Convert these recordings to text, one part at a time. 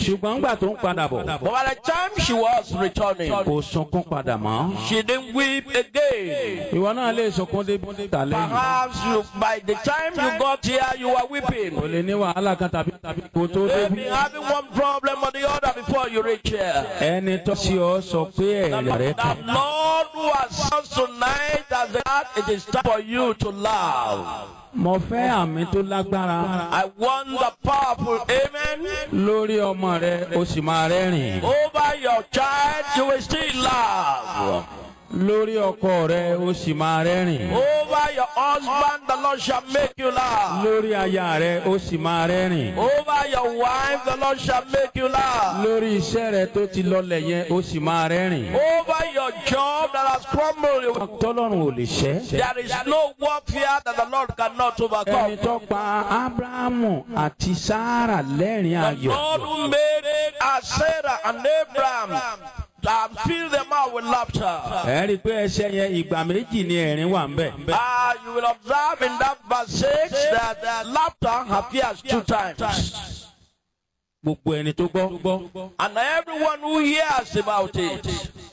Ṣùgbọ́n ńgbà tó ń padà bọ̀, But by the time she was returning, kò sunkún padà mọ́. she didn't weep again. Ìwọ náà lè sunkún dé tàlẹ́ yìí. Perhaps you, by the time you got here, you were weeping. Kò lè ní wàhálà kan tàbí kò tó You've dé. been having one problem or the other before you reach here. Ẹni tó sí ọ sọ pé ẹ̀rẹ̀ rẹ The kàn. Lord who has us tonight as the heart, it is time for you to laugh. Mo fẹ́ àmì tó lágbára I want the powerful amen. lórí ọmọ rẹ, o sì máa rẹ́rìn. Over your child, you will still laugh. Lórí ọkọ rẹ, o sì máa rẹ́rìn. Over your husband, the Lord shall make you laugh. Lórí aya rẹ, o sì máa rẹ́rìn. Over your wife, the Lord shall make you laugh. Lórí iṣẹ́ rẹ tó ti lọlẹ̀ yẹn, o sì máa rẹ́rìn. Over your job that has crumbled, Tọ́lọ́run ò lè ṣẹ́. there is no warfare that the Lord cannot Ẹni overcome. tó pa Ábúráhámù àti Sárà lẹ́rìn The ayọ̀. Lord who made Sarah and Abraham and fill them out with laughter. Ẹ rí i pé ẹsẹ̀ yẹn, ìgbà méjì ni ẹ̀rín wà ń bẹ̀. You will observe in that verse 6 that laughter appears two times. Gbogbo ẹni tó gbọ́, And everyone who hears about it,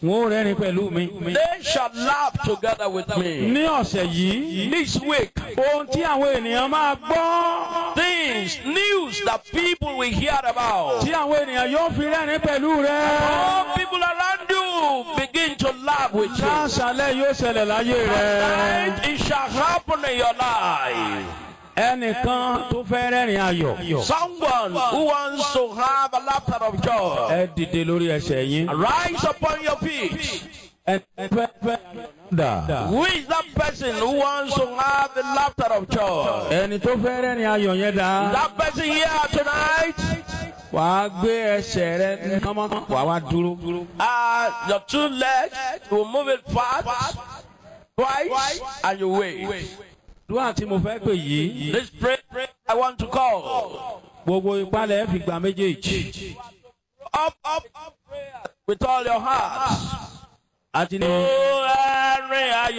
wọn ò rẹ́rìn pẹ̀lú mi. they shall laugh together with me. Ní ọ̀sẹ̀ yìí, This week, ohun tí àwọn ènìyàn máa gbọ́, things, news that people will hear about. tí àwọn ènìyàn yóò fi rẹ́rìn pẹ̀lú rẹ. All people around you begin to laugh with you. Láṣálẹ̀ yóò ṣẹlẹ̀ láyé rẹ. Tonight, it shall happen in your life. Ẹnìkan tó fẹ́ rẹ́rìn ayọ̀. Someone who wants to have a laughter of joy, Ẹ dìde lórí ẹsẹ̀ yín. rise upon your feet. Ẹ fẹ́ fẹ́ dà. Who is that person who wants to have the laughter of joy? Ẹni tó fẹ́ rẹ́rìn ayọ̀ yẹn dà. That person here tonight, Wàá gbé ẹsẹ̀ rẹ kánmọ́, wàá wá dúró. Your two legs will move it fast, twice, and you wait. Dúwà tí mo fẹ́ pè yìí, This prayer I want to call. gbogbo ìpalẹ̀ fi gba méjèèjì. Up, up, up, prayer with all your heart. Àti ní. Oh, ẹ̀rín ayọ̀.